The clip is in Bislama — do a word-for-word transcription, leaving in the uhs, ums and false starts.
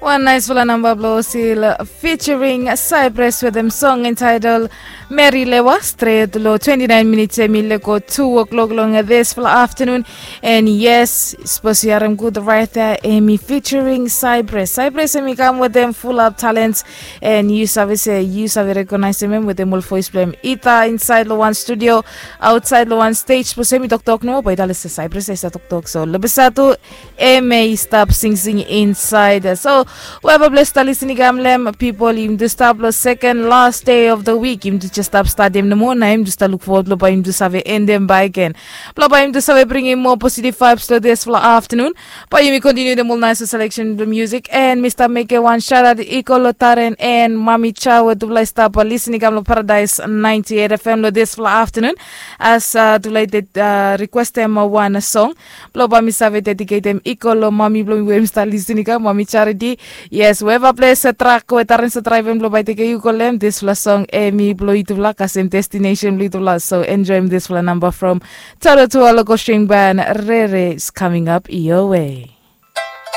Wan naisfala namba blong Osil featuring Cypress wetem song entitled Mary Lewa, stret long twenty-nine minutes em i lego two o'clock long disfala afternoon. And yes, sapos yu harim gud right there, em i featuring Cypress. Cypress em i kam wetem full up talents, and yu save se yu save recognize em wetem ol voice blong em, either inside long wan studio, outside long wan stage. Sapos em i toktok nomo, bae yu talem se Cypress ya i stap toktok. So lebisa tu em ya i stap singsing inside. So whoever blong stap listening, kam long em, pipol, yumi tu stap long second last day of the week. Yumi tu jes stap statem nomo, na yumi tu stap luk fowod blong bae yumi tu save endem bakegen, blong bae yumi tu save bringim moa positive vibes long disfala afternoon. Bae yumi kontiniu wetem ol naisfala selection blong music, and mi stap mekem wan shout out i go long Taren and Mami Cha, we tufala i stap listening, kam long Paradise ninety-eight F M long disfala afternoon. As tufala i requestem wan song, blong bae mi save dediketem i go long mami blong mi we mi stap listening, kam Mami Charity. Yes, whoever ples trak we Taren stap draevem blong bae tekem yu go long em, disfala song em i blong yutufala, kasem destination blong yutufala. So enjoem disfala namba from Toto Tua Local String Band, Rere is coming up your way.